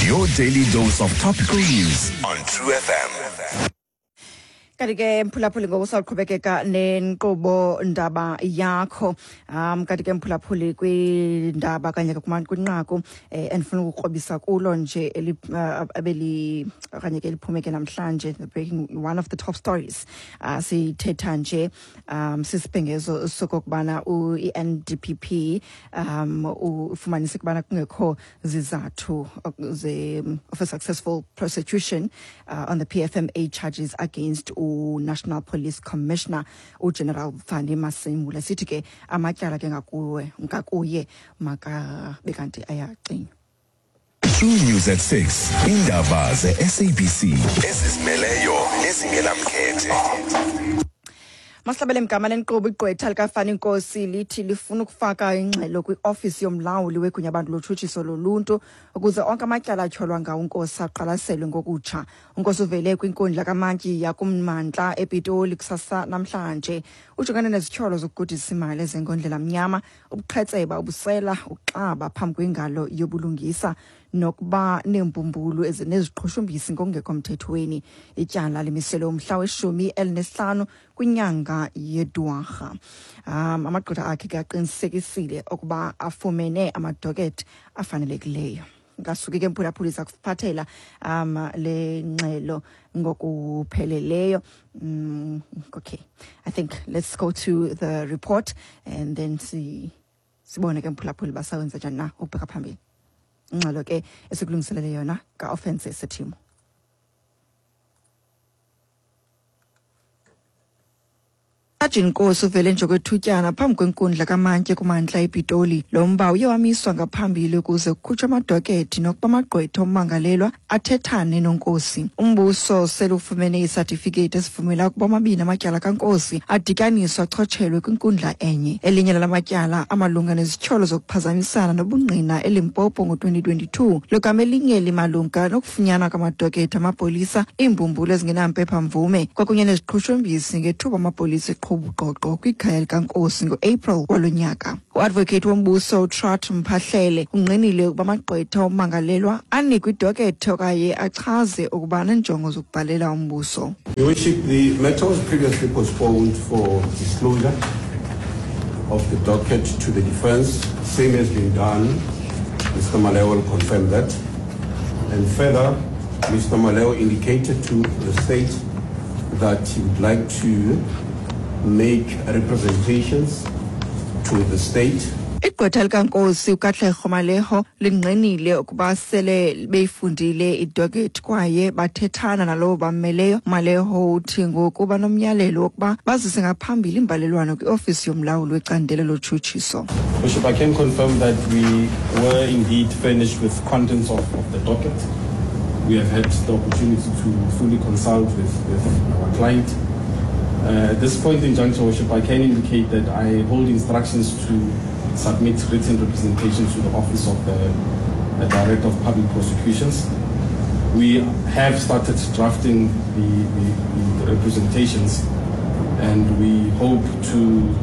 Your daily dose of topical news on True FM. Kanti ke mphulaphuli, ngoku sawuqhubekeka nenkqubo ndaba yakho. Kanti ke mphulaphuli, kwindaba kanye kwinqaku endifuna ukukrobisa kulo nje abeli okanye ke liphume ke namhlanje, the breaking one of the top stories, sithetha nje sisibhengezo sokokubana i-NDPP ufumanise ukubana kungekho zizathu of a successful prosecution on the PFMA charges against u-National Police Commissioner uGeneral Fannie Masemola. Sithi ke amatyala ke ngakuwe ngakuye makabe kanti ayacinywa. True News at 6. Indaba ze-SABC ezizimeleyo nezingenamkhethe. Masihlabele mgama lenkqubo. Igqwetha likaFani Nkosi lithi lifuna ukufaka ingxelo kwiofisi yomlawuli wegunyabantu lotshutshiso loluntu ukuze onke amatyala atyholwa ngawo uNkosi aqwalaselwe ngokutsha. UNkosi uvele kwinkundla kamantyi yakummandla ePitoli kusasa namhlanje. Ujongene nezityholo zokugudisa imali ezengondlela mnyama, ubuqhetseba, ubusela, ukuxaba phambi kwengalo yobulungisa nokuba neembumbulu ezineziqhushumbisi ngokungekho mthethweni. Ityala limiselwe umhla we-15 kwinyanga yeDwarha. Amagqwetha akhe ke aqinisekisile ukuba afumene amadokethi afanelekileyo. Ngasuke ke mphulaphuli, zakuphathela le ngxelo ngokupheleleyo. Okay, I think let's go to the report and then see, sibone ke mphulaphuli basawenza njani na ukubheka phambili. Ingxelo ke esikulungiselele yona ka-Offense Sethimo. Sajini Nkosi uvele nje kwethutyana phambi kwenkundla kamantyi kumantla ePitoli. Lo mba uye wamiswa ngaphambili ukuze kukhutshwe amadokethi nokuba amagqwetha ommangalelwa athethane noNkosi. Umbuso sele ufumene isatifiketi esivumela ukuba amabini amatyala kaNkosi adityaniswe achotshelwe kwinkundla enye. Elinye lala matyala amalunga nezityholo zokuphazamisana nobungqina eLimpopo ngo-2022, logama elinye limalunga nokufunyanwa kwamadokethi amapolisa, iimbumbulu ezingenampepha-mvume kwakunye neziqhushumbisi ngethuba amapolisa eqhuba uqoqo kwikhaya likaNkosi ngo-April walo nyaka. Uadvocate wombuso uTrot Mphahlele ungqinile ukuba amagqwetha ommangalelwa anikwe idokethi okanye achaze ukuba aneenjongo zokubhalela umbuso. Your Worship, the matter was previously postponed for disclosure of the docket to the defense. Same has been done. Mr. Maleo will confirm that. And further, Mr. Maleo indicated to the state that he would like to make representations to the state. Igqwetha likaNkosi uKatlego Maleho lingqinile ukuba sele beyifundile idokethi kwaye bathethana nalowo bammeleyo. Maleho uthi ngoku banomyalelo wokuba bazise ngaphambili imbalelwano kwiofisi yomlawuli wecandelo lotshutshiso. Bishop, I can confirm that we were indeed furnished with contents of the docket. We have had the opportunity to fully consult with our client. At this point in juncture, Worship, I can indicate that I hold instructions to submit written representations to the Office of the Director of Public Prosecutions. We have started drafting the representations, and we hope to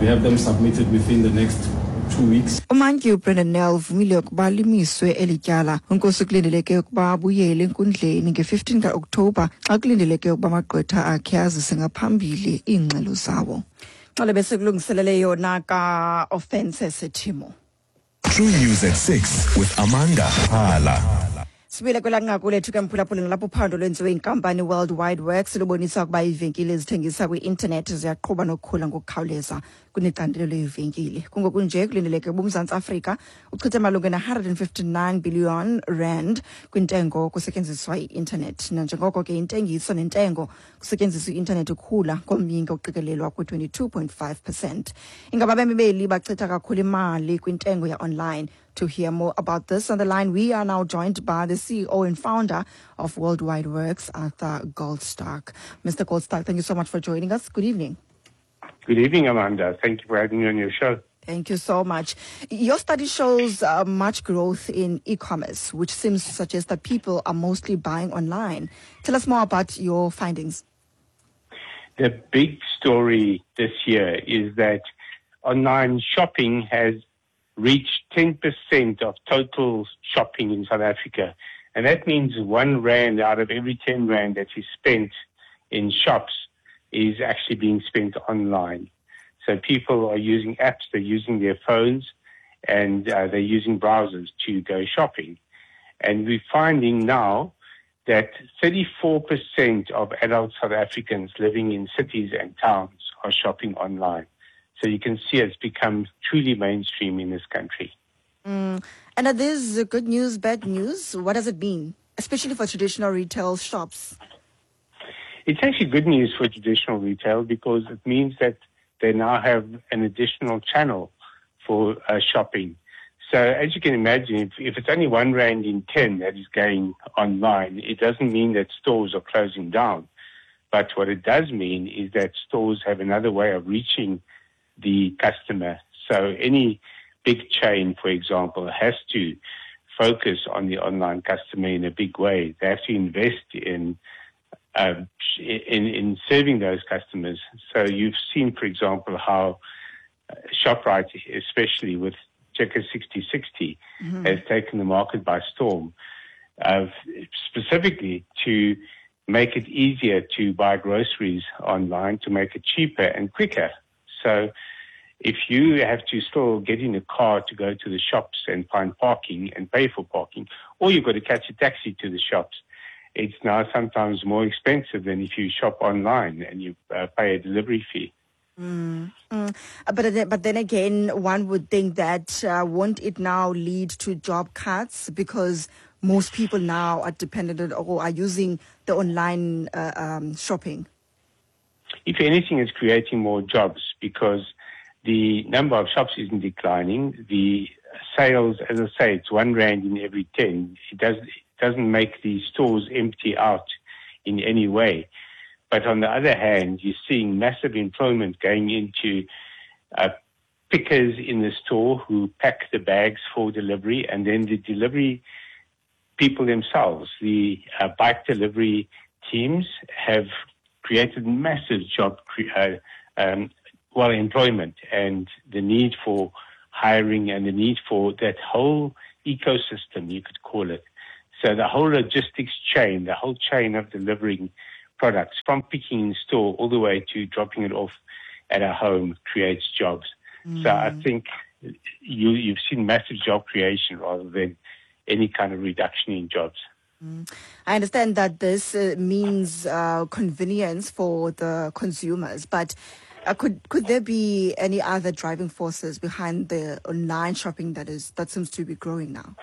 have them submitted within the next 2 weeks. Umantyi uBrandon Nel uvumile ukuba limiswe eli tyala. UNkosi kulindeleke ukuba abuyele enkundleni nge-15 kaOkthobha xa kulindeleke ukuba amagqwetha akhe azise ngaphambili iingxelo zawo. Xele besikulungiselele yona ka-Offense Sethimo. True News at 6 with Amanda Hala. Sibuyele kwelaa nqaku lethu ke mphulaphuli, nalapho uphando lwenziwe inkampani World Wide Worx lubonisa ukuba iivenkile ezithengisa kwi-intanethi ziyaqhuba nokukhula ngokukhawuleza kunecandelo leevenkile. Kungoku nje kulindeleke ukuba uMzantsi Afrika uchithe malunga ne-159 billion rand kwintengo kusetyenziswa i-intanethi, nanjengoko ke intengiso nentengo kusetyenziswa i-intanethi ikhula ngomyinge oqikelelwa kwi-22.5%. Ingaba abemi beli bachitha kakhulu imali kwintengo ya-online? To hear more about this on the line, we are now joined by the CEO and founder of Worldwide Worx, Arthur Goldstuck. Mr. Goldstuck, thank you so much for joining us. Good evening. Good evening, Amanda. Thank you for having me on your show. Thank you so much. Your study shows much growth in e-commerce, which seems to suggest that people are mostly buying online. Tell us more about your findings. The big story this year is that online shopping has reached 10% of total shopping in South Africa. And that means 1 rand out of every 10 rand that is spent in shops is actually being spent online. So people are using apps, they're using their phones, and they're using browsers to go shopping. And we're finding now that 34% of adult South Africans living in cities and towns are shopping online. So you can see it's become truly mainstream in this country. And are these good news, bad news? What does it mean, especially for traditional retail shops? It's actually good news for traditional retail because it means that they now have an additional channel for shopping. So as you can imagine, if it's only 1 rand in 10 that is going online, it doesn't mean that stores are closing down. But what it does mean is that stores have another way of reaching the customer. So any big chain, for example, has to focus on the online customer in a big way. They have to invest in serving those customers. So you've seen, for example, how ShopRite, especially with Checkers 6060, has taken the market by storm, specifically to make it easier to buy groceries online, to make it cheaper and quicker. So if you have to still get in a car to go to the shops and find parking and pay for parking, or you've got to catch a taxi to the shops, it's now sometimes more expensive than if you shop online and you pay a delivery fee. But then again, one would think that won't it now lead to job cuts, because most people now are dependent or are using the online shopping? If anything, it's creating more jobs because the number of shops isn't declining. The sales, as I say, it's 1 rand in every 10. It doesn't make the stores empty out in any way. But on the other hand, you're seeing massive employment going into pickers in the store who pack the bags for delivery, and then the delivery people themselves, the bike delivery teams, have created massive job employment, and the need for hiring and the need for that whole ecosystem, you could call it. So the whole logistics chain, the whole chain of delivering products from picking in store all the way to dropping it off at a home creates jobs. So I think you've seen massive job creation rather than any kind of reduction in jobs. I understand that this means convenience for the consumers, but could there be any other driving forces behind the online shopping that seems to be growing now?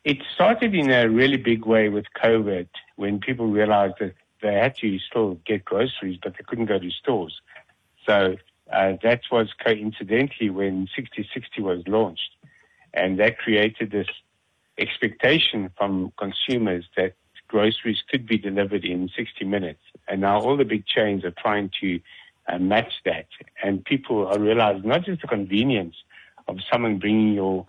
It started in a really big way with COVID, when people realized that they had to still get groceries, but they couldn't go to stores. So that was coincidentally when 6060 was launched. And that created this expectation from consumers that groceries could be delivered in 60 minutes. And now all the big chains are trying to match that. And people are realizing not just the convenience of someone bringing your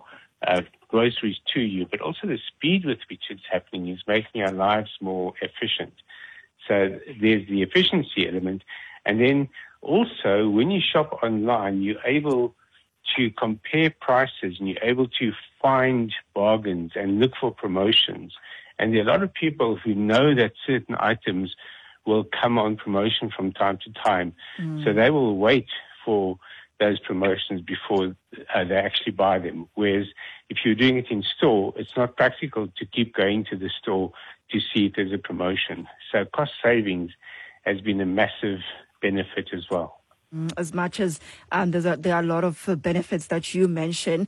groceries to you, but also the speed with which it's happening is making our lives more efficient. So there's the efficiency element. And then also, when you shop online, you're able to compare prices and you're able to find bargains and look for promotions. And there are a lot of people who know that certain items will come on promotion from time to time. So they will wait for those promotions before they actually buy them. Whereas if you're doing it in store, it's not practical to keep going to the store to see if there's a promotion. So cost savings has been a massive benefit as well. As much as there are a lot of benefits that you mentioned,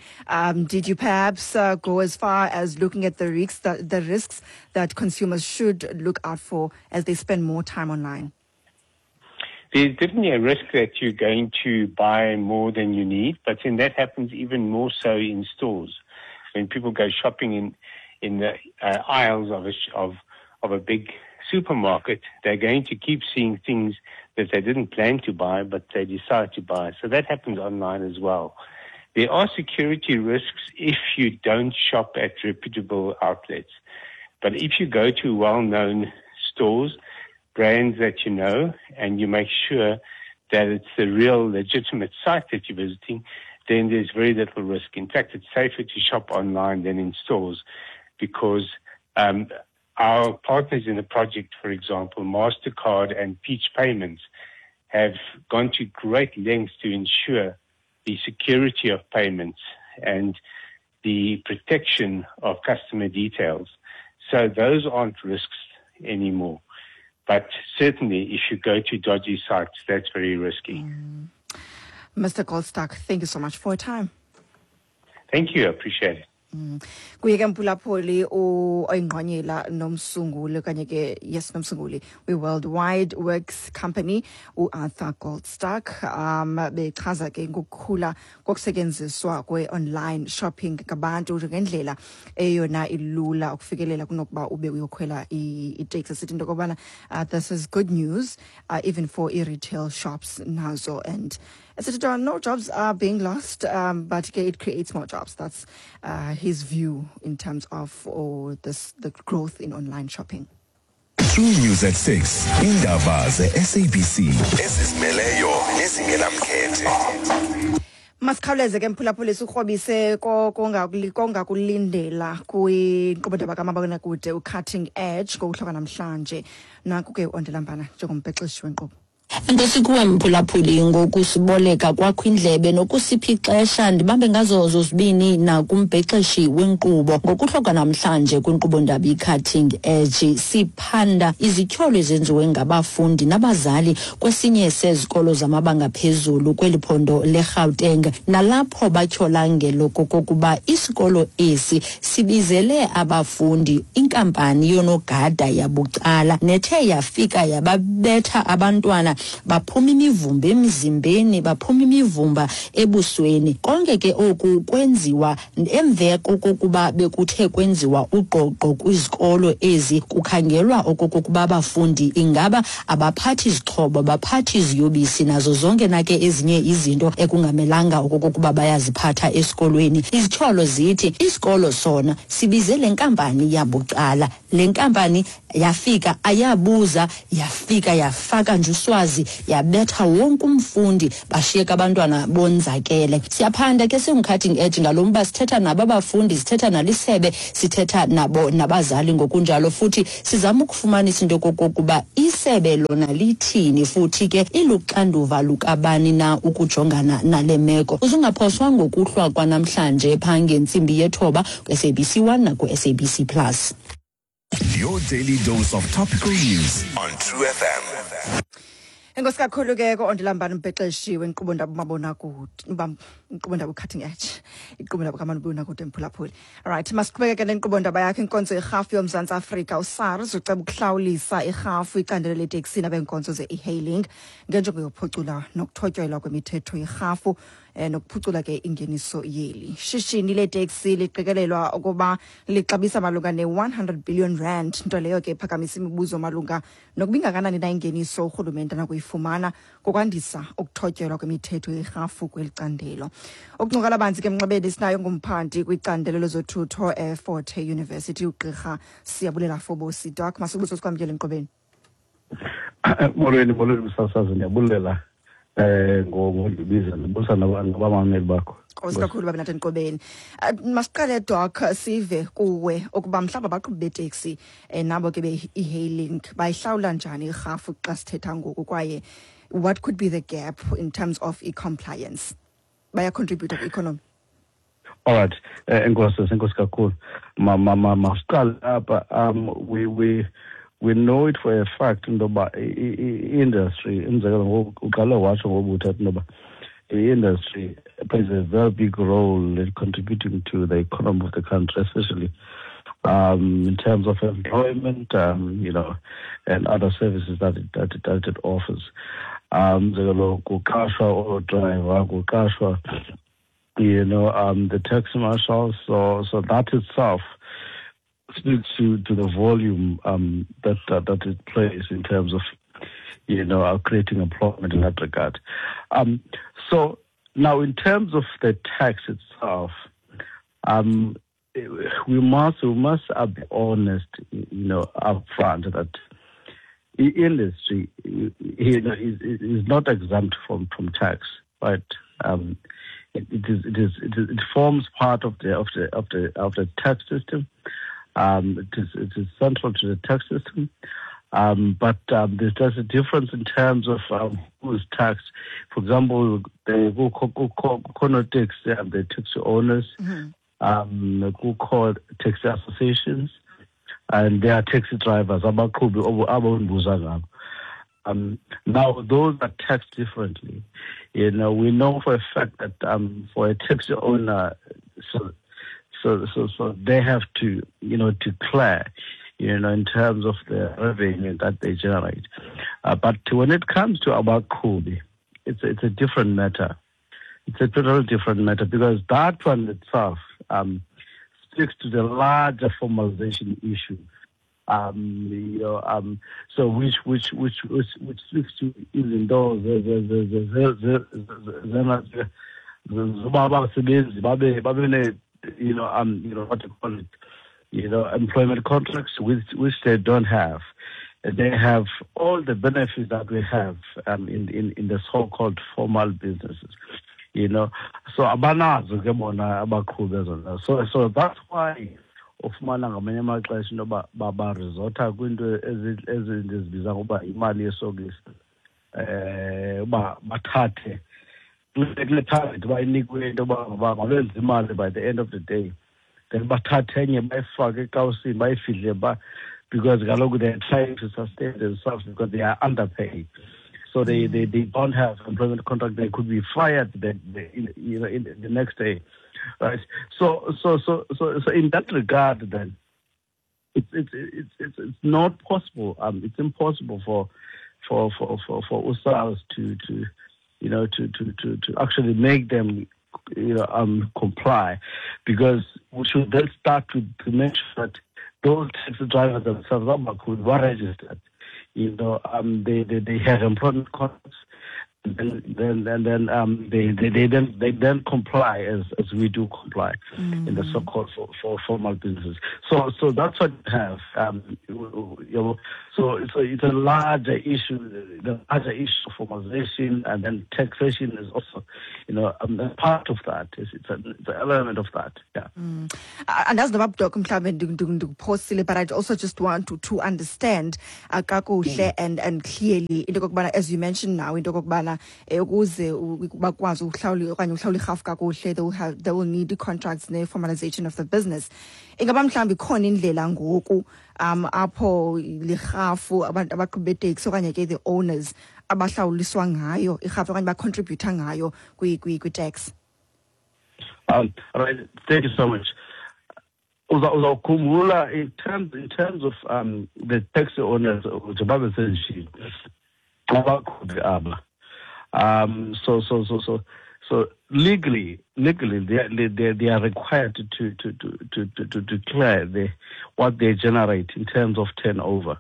did you perhaps go as far as looking at the risks that consumers should look out for as they spend more time online? There's definitely a risk that you're going to buy more than you need, but then that happens even more so in stores. When people go shopping in the aisles of a big supermarket, they're going to keep seeing things that they didn't plan to buy, but they decide to buy. So that happens online as well. There are security risks if you don't shop at reputable outlets. But if you go to well-known stores, brands that you know, and you make sure that it's the real legitimate site that you're visiting, then there's very little risk. In fact, it's safer to shop online than in stores because our partners in the project, for example, MasterCard and Peach Payments, have gone to great lengths to ensure the security of payments and the protection of customer details. So those aren't risks anymore. But certainly, if you go to dodgy sites, that's very risky. Mr. Goldstuck, thank you so much for your time. Thank you. I appreciate it. Kuye ke, mphulaphuli, oyingqonyela nomsunguli okanye ke, yes, nomsunguli we-Worldwide Works Company, uArthur Goldstuck, bechaza ke ngokukhula kokusetyenziswa kwe-online shopping ngabantu njengendlela eyona ilula ukufikelela kunokuba ube uyokhwela iteksi. Sithi into yokobana this is good news even for i-retail shops nazo, and esithi no jobs are being lost, but ke it creates more jobs. That's his view in terms of this the growth in online shopping. True News at 6. Indaba ze-SABC ezizimeleyo nezingenamkhethe. Masikhawuleze ke, mphulaphuli, sikrobise kongakulindela kwinkqubo kamabonakude uCutting Edge ngokuhlwa namhlanje. Nanku ke uOndelambana njengombhexeshi wenkqubo. Enkosi kuwe, mphulaphuli, ngokusiboleka kwakho indlebe nokusipha ixesha. Ndibambe ngazo zozibini nakumbhexeshi wenkqubo. Ngokuhlwa namhlanje kwinkqubo ndaba i-Cutting Edge siphanda izityholo ezenziwe ngabafundi nabazali kwesinye sezikolo zamabanga phezulu kweli phondo leGauteng, nalapho batyhola ngelokokuba isikolo esi sibizele abafundi inkampani yonogada yabucala nethe yafika yababetha abantwana, baphuma imivumba emzimbeni, baphuma imivumba ebusweni. Konke ke oku kwenziwa emva kokuba bekuthe kwenziwa ugqogqo kwizikolo ezi, kukhangelwa okokuba abafundi ingaba abaphathi izixhobo, abaphathi iziyobisi nazo zonke na ke ezinye izinto ekungamelanga okokuba bayaziphatha esikolweni. Izityholo zithi isikolo sona sibize le nkampani yabucala. Le nkampani yafika ayabuza, yafika yafaka nje uswazi, yabetha wonke umfundi, bashiyeka abantwana bonzakele. Siyaphanda ke singu-Cutting Edge ngalo mba. Sithetha nabo abafundi, sithetha nalisebe, sithetha nabo nabazali ngokunjalo, futhi sizama ukufumanisa into yokokuba isebe lona lithini, futhi ke iluxanduva lukabani na ukujongana nale meko. Uzungaphoswa ngokuhlwa kwanamhlanje phaa ngentsimbi yethoba ku-SABC 1 naku-SABC Plus. Your daily dose of topical news on True FM. Enkosi kakhulu ke ko-Ondelambani, umbhexeshi wenkqubo ndaba umabonakude, inkqubo ndaba Cutting Edge, inkqubo ndaba kamabonakude, mphulaphuli. Alright, masiqhubeke nenkqubo ndaba yakho. Inkonzo yerhafu yoMzantsi Afrika, uSARS, uceba ukuhlawulisa irhafu icandelo leteksi nabenkonzo ze-e-hailing ngenjongo yokuphucula nokuthotyelwa kwemithetho yerhafu nokuphucula ke ingeniso yeli shishini leteksi. Liqikelelwa ukuba lixabisa malunga ne-R100 billion, nto leyo ke iphakamisa imibuzo malunga nokuba ingakanani na ingeniso urhulumente anakuyifumana ngokwandisa ukuthotyelwa kwemithetho yerhafu kweli candelo. Ukuncokola banzi ke emnxebeni sinayo ngumphandi kwicandelo lezothutho eFort Hare University, ugqirha Siyabulela Fobosi. Doc, masibuso sikwamkele enkqubeni. Molweni, molweni msasazi, ndiyabulela ngondibiza, ndibusa nabamameli bakho. Nkosi kakhulu babe nathi enkqubeni. Masiqale, Doc, sive kuwe ukuba mhlawumbi abaqhubi beteksi nabo ke be-e-hailing bayihlawula njani irhafu xa sithetha ngoku, kwaye what could be the gap in terms of e-compliance, bayacontributa kwi-economy? All right, enkosi, enkosi kakhulu. Ma ma ma masiqale apha. We know it for a fact into yoba i-industry, umzekelo ngoku uqale watsho ngobuthatha into yoba i-industry plays a very big role in contributing to the economy of the country, especially in terms of employment, and other services that it offers. Umzekelo kuqashwa oo-driver, kuqashwa the taxi marshals. So that itself speaks to the volume that it plays in terms of creating employment in that regard. So now, in terms of the tax itself, we must be honest, upfront that the industry is not exempt from tax, right? It forms part of the tax system. It is central to the tax system. But there's just a difference in terms of who is taxed. For example, the taxi, the taxi owners, kukho taxi associations, and there are taxi drivers. Abaqhubi abondibuza ngabo. Now, those are taxed differently. You know, we know for a fact that for a taxi owner, so they have to, you know, declare, you know, in terms of the revenue that they generate. But when it comes to abaqhubi, it's a different matter. It's a totally different matter, because that one itself speaks to the larger formalization issue. So which speaks to even though you know, what to call it, you know, employment contracts, which they don't have. They have all the benefits that we have in the so-called formal businesses, you know. So abanazo ke bona abaqhubi ezona. So that's why ufumana ngamanye amaxesha into yoba baresota kwinto ezindizibiza ngoba imali yesokisi, uba bathathe kule target bayinikwe into yoba mabenze imali by the end of the day, then bathathe enye bayifake ekawusini bayifihle ba, because kaloku they are trying to sustain themselves because they are underpaid. So they don't have employment contract. They could be fired the next day, right? So in that regard, then it's not possible. It's impossible for USARS to actually make them, you know, comply, because we should then start to make sure that those taxi drivers themselves were registered. You know, they have employment contracts, and then they then comply as we do comply in the so-called for formal businesses. So that's what you have. You know, so it's a larger issue. The larger issue of formalization, and then taxation is also, you know, part of that. It's an element of that. Yeah. Andazi noba Doc mhlawumbe ndikuphosile, but I also just want to understand kakuhle and clearly into okokubana, as you mentioned now, into okokubana ukuze bakwazi ukuhlawula okanye uhlawula irhafu kakuhle, they will need contracts ne-formalization of the business. Ingaba mhlawumbi ikhona indlela ngoku apho lirhafu abantu abaqhubi beteksi okanye ke the owners abahlawuliswa ngayo irhafu okanye bacontributha ngayo kwi-tax? All right, thank you so much. Uzawukhumbula in terms of the taxi owners, njengoba besendishilo, abaqhubi aba. So legally they are required to declare what they generate in terms of turnover,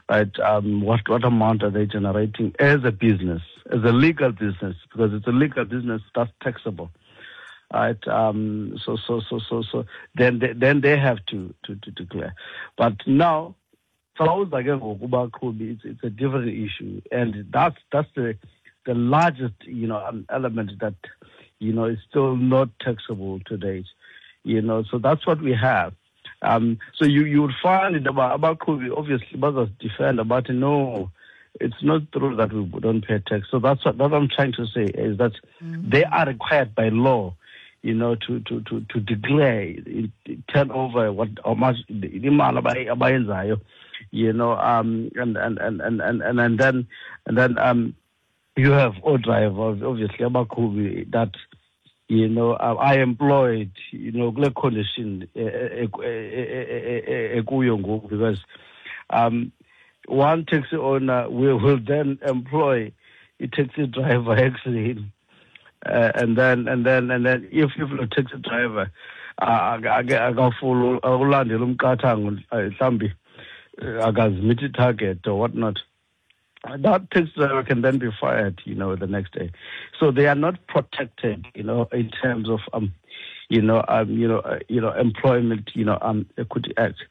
right? What amount are they generating as a business, as a legal business, because it's a legal business that's taxable, right? So then they have to declare. But now, it's a different issue, and that's the largest, you know, element that, you know, is still not taxable to date, you know. So that's what we have. So you would find it about obviously others defend about, no, it's not true that we don't pay tax. So that's what I'm trying to say is that they are required by law, you know, to declare turnover, what how much you know, and then you have all drivers, obviously, abaqhubi that, you know, I employed, you know, kule condition ekuyo ngoku, because one taxi owner will then employ a taxi driver actually, and then if the taxi driver akafuna ukulandela umqathango mhlambi akazimeet target or whatnot, that taxi driver can then be fired, you know, the next day. So they are not protected, you know, in terms of, employment, you know, Equity Act,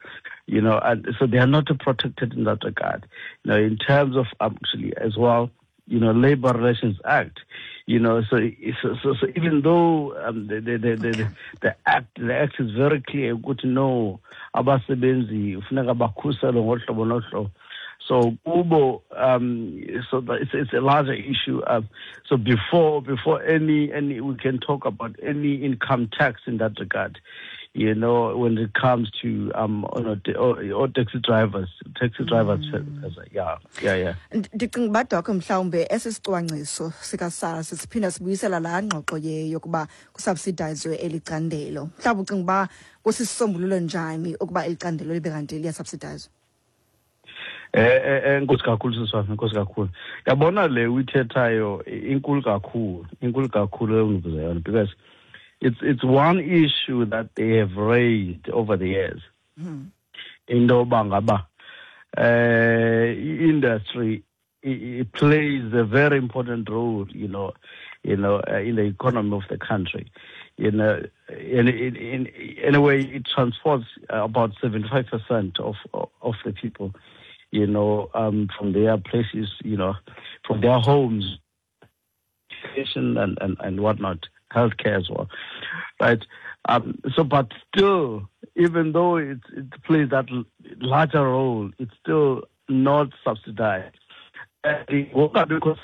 you know, and so they are not protected in that regard. You know, in terms of actually as well, you know, Labor Relations Act, you know, so even though the act is very clear, good to know abasebenzi funeka bakhuselwe ngohlobo nohlobo. So kubo, so it's a larger issue. So before any we can talk about any income tax in that regard, you know, when it comes to or taxi drivers, yeah. Ndicinga uba Doc mhlawumbe esi sicwangciso sikaSARS siphinda sibuyisela laa ngxoxo yokuba kusubsidizwe eli candelo. Mhlawumbi ucinga uba kusisombululo njani ukuba eli candelo libe kanti liyasubsidizwa? Enkosi kakhulu sisi wam, enkosi kakhulu. Yabona le uyithethayo inkulu kakhulu engibuza yona, because it's one issue that they have raised over the years. Into yoba ngaba industry it plays a very important role, you know, in the economy of the country. You know, in a way, it transports about 75% of the people, you know, from their places, you know, from their homes, education and whatnot, healthcare as well, right? So, but still, even though it plays that larger role, it's still not subsidized. And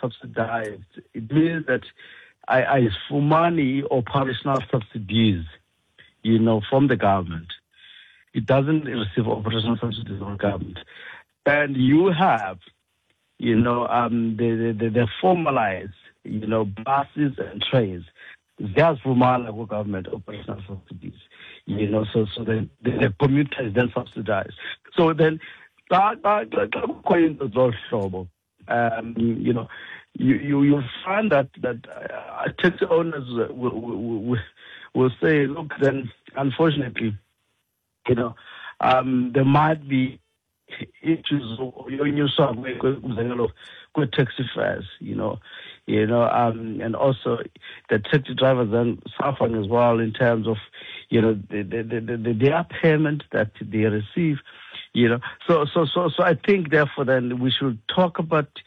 subsidized, it means that I money operational subsidies, you know, from the government. It doesn't receive operational subsidies from the government. And you have, you know, the formalized, you know, buses and trains. There's formal government operational subsidies, you know, so the commuter is then subsidized. So then, you know, you find that taxi owners will say, look, then unfortunately, you know, there might be issues with taxi fares, you know, and also the taxi drivers then suffering as well in terms of, you know, their payment that they receive, you know. So I think therefore then we should talk about,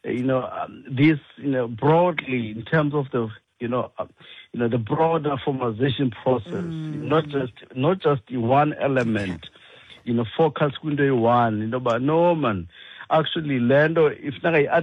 you know, this, you know, broadly in terms of the, you know, the broader formalization process, not just the one element. You know, focus kwinto eyi-one, you know, but no man, actually, lento if